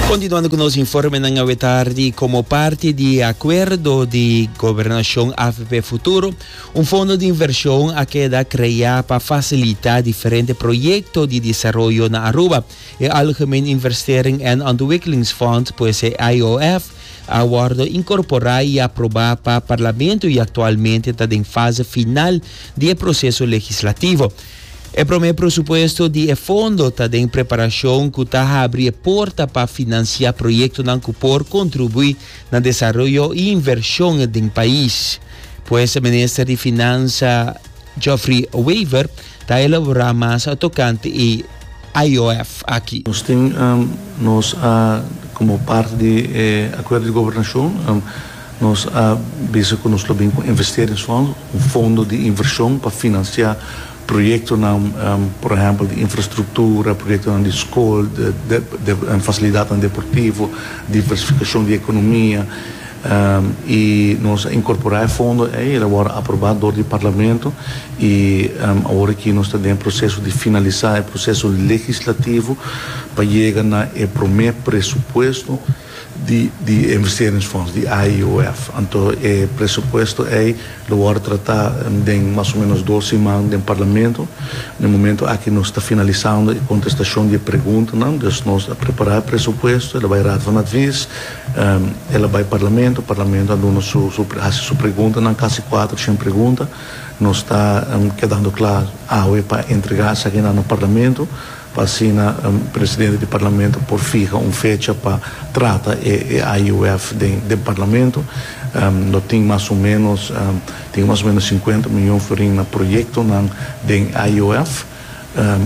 Continuando cu nos informenan awe tardi, como parti di e acuerdo di gobernacion avp Futuro, un fondo di inversion a keda crea pa facilita diferente proyecto di desaroyo na Aruba. E Algemeen Investering en Ontwikkelingsfonds, pues e IOF, a wordo incorpora y aproba pa Parlamento y actualmente ta den fase final di e proceso legislativo. E prome presupuesto di e fondo ta den preparacion cu ta habri e porta pa financia proyectonan cu por contribui na desaroyo y inversion den pais. Pues Minister di Finansa Geoffrey Wever ta elabora mas tocante e IOF aki. Nos tin nos a como parti di e acuerdo di gobernacion nos a bisa cu nos lo bin cu investeringsfonds, un fondo di inversion pa financia proyectonan por ehempel di infrastructura, proyectonan di scol, facilidadnan deportivo, diversificacion di economia. Y nos a incorpora e fondo ey, el a worde aproba door di Parlamento y awor aki nos ta den e proceso di finalisa e proceso legislativo pa yega na e prome presupuesto di di investeringsfonds, di AIOF. Anto e presupuesto ey lo worde trata den mas o menos dos siman den Parlamento. Na e momento aki nos ta finalisando e contestacion di e preguntanan, dus nos a prepara e presupuesto, el a bay Raad van Advies, El a bai Parlamento, Parlamento a duna su su hasi su preguntanan, kasi kuatershen pregunta. Nos ta kedando kla awe pa entregá esakinan na Parlamento, pa asina presidente di Parlamento por fiha un fecha pa trata e e AIOF den den Parlamento. Lo tin mas o ménos tin mas o ménos sinkuenta miyon florin na proyektonan den AIOF.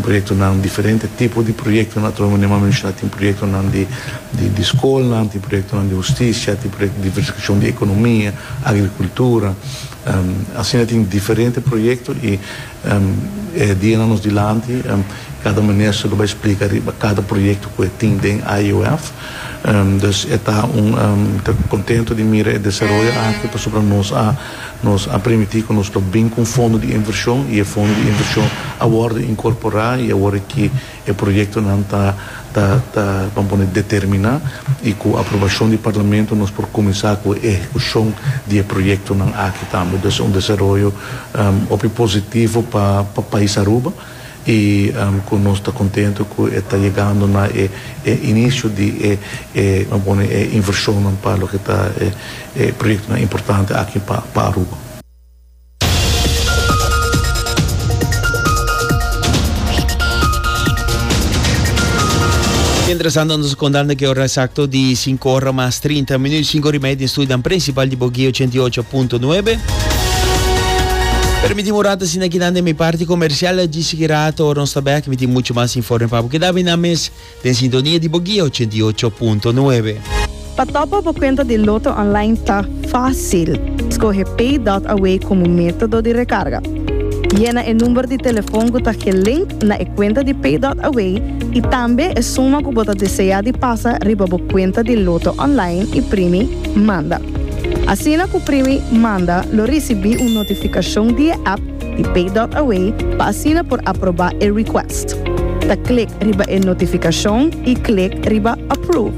Proyectonan, diferente tipo di proyectonan, atrobe manera mi a menciona tin proyectonan di di scolnan, tin proyectonan di husticia, tin proyecto di diversificacion di economia, agricultura, asina tin diferente proyecto y e dianan nos dilanti cada minister lo bay splica riba cada proyecto cu e tin den IOF. Dus e ta un, mi ta contento di mira e desaroyo aki pasobra nos a. Nos a permití ku nos lo bin ku un fondo di invershon i e fondo di invershon a wòrdu inkorporá i awor aki e proyektonan ta ta ta ban pone determiná i ku aprobashon di Parlamento nos por kuminsá ku e ehekushon di e proyektonan aki tambe. Dus un desaroyo hopi positivo pa pa pais Aruba. I ku nos ta kontentu ku e ta yegando na e e inisio di e e lo pone e invershonnan pa loke ta e e proyektonan importante aki pa pa Aruba. Mientrastanto nos kontando ke ora eksakto di sinku ora mas 30 minuut, sinku ora i media den studionan prinsipal di Boguia 88.9. Permiti un rato asina kinan den mi parti comercial djis sigui rato ora nos ta bek mi tin mucho mas informe pa bo keda bina mes den sintonia di bo guia 88.9. Pa topa bo cuenta di Lotto Online ta facil. Scoge Pay dot Away como metodo di recarga. Yena e number di telefon cu ta gelink na e cuenta di Pay dot Away y tambe e suma cu bo ta desea di pasa riba bo cuenta di Lotto Online y primi Manda. Asina ku primi Manda lo risibí un notifikashon di e app di Pay dot Away pa asina por aprobá e request. Ta klik riba e notifikashon i klik riba Approve.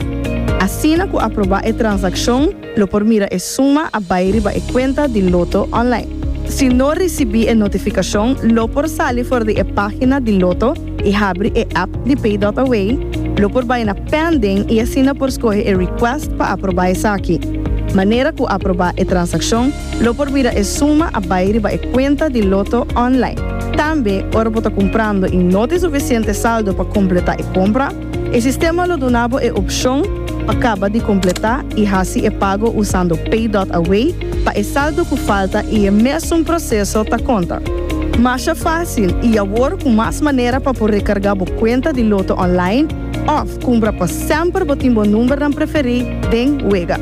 Asina ku aprobá e transakshon lo por mira e suma a bai riba e kuenta di Lotto Online. Si no risibí e notifikashon lo por sali for di e página di Lotto i habri e app di Pay dot Away, lo por bai na Pending i asina por skohe e request pa aprobá esaki. Manera ku aprobá e transakshon, lo por mira e suma a bai riba e kuenta di Lotto online. Tambe, ora bo ta kumprando i no tin sufisiente saldo pa kompletá e kompra, E sistema lo duna bo e opshon pa kaba di kompletá i hasi e pago usando Pay dot Away pa e saldo ku falta i e mesun proseso ta konta. Masha fásil i awor ku mas manera pa por rekargá bo kuenta di Lotto online òf kumpra pa semper bo tin bo numbernan preferí den wega.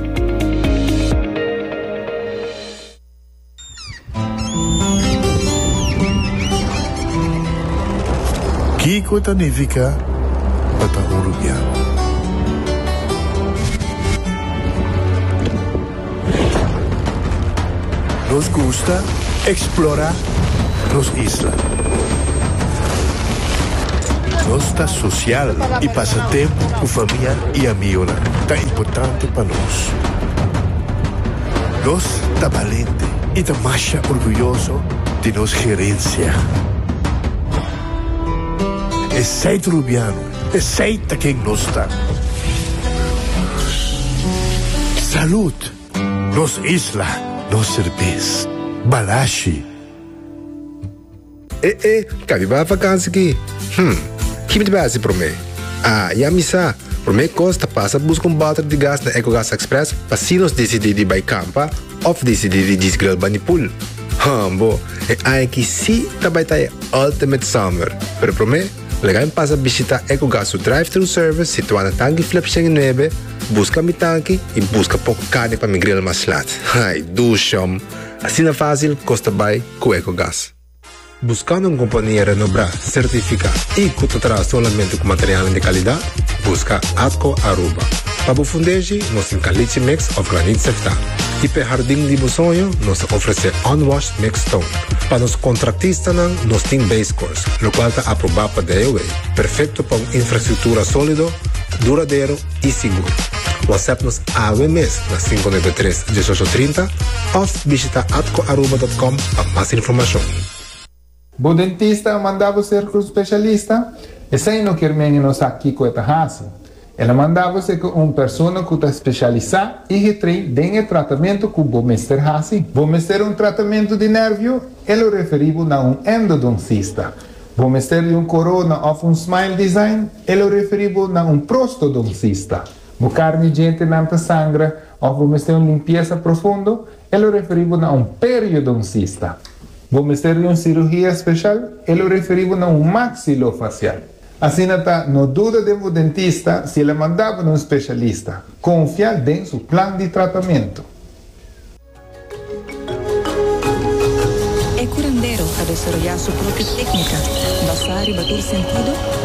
Kiko ta nifiká pa ta un rubiano? Nos gusta eksplorá nos isla. Nos ta sosial i pasa tempu ku famia i amigonan ta importante pa nos. Nos ta balente i ta masha orguyoso di nos gerensia. Esei ta Rubiano, esei ta ken nos ta. Salud! Nos isla, nos serbes. Balashi. E e, ka mi bai vakansi ki? Hm, ki mi ta bai hasi promé? Ah, ya mi sa! Promé kos ta pasa buska un bòter di gas na Ecogas Express pa si nos disidí di bai kampa òf disidí di djis grill bani pool. Hòmbo, e aña aki sí ta bai ta e ultimate summer! Pero promé, laga mi pasa bishitá Ecogas su drive-thru service situá na Tanki Flip 109, buska mi tanki i buska poko karni pa mi grill mas lat. Ai, dushòm! Asina fásil kos ta bai ku Ecogas. Buscando un compania renobrá, certificá y cu ta traha solamente cu materialnan di calidad? Busca Atco Aruba. Pa bo fundeshi, nos tin caliche mix of graniet seftá. Y p'e hardin di bo soño, nos ta ofrece unwashed mixed stone. Pa nos contractistanan, nos tin base course, locual ta aprobá pa DOW, perfecto pa un infrastructura solido, duradero y sigur. WhatsApp nos awe mes na 593 1830 of bishita atcoaruba.com pa mas informacion. Bo dentista a manda bo serka un spesialista? Esei no kier men e no sa kiko e ta hasi. El a manda bo serka un persona ku ta spesialisá i getrain den e tratamentu ku bo mester hasi. Bo mester un tratamentu di nèrvio? E lo referí bo na un endodoncista. Bo mester di un korona òf un smile design? E lo referí bo na un prostodoncista. Bo karni djentenan ta sangra òf bo mester un limpiesa profundo? E lo referí bo na un periodoncista. Bo mester di un sirugia speshal? E lo referí bo na un maxilofasial. Asina ta, no duda den bo dentista si el a manda bo na un speshalista. Konfia den su plan di tratamentu. E curandero a desaroyá su propio técnica basá riba tur sentido i.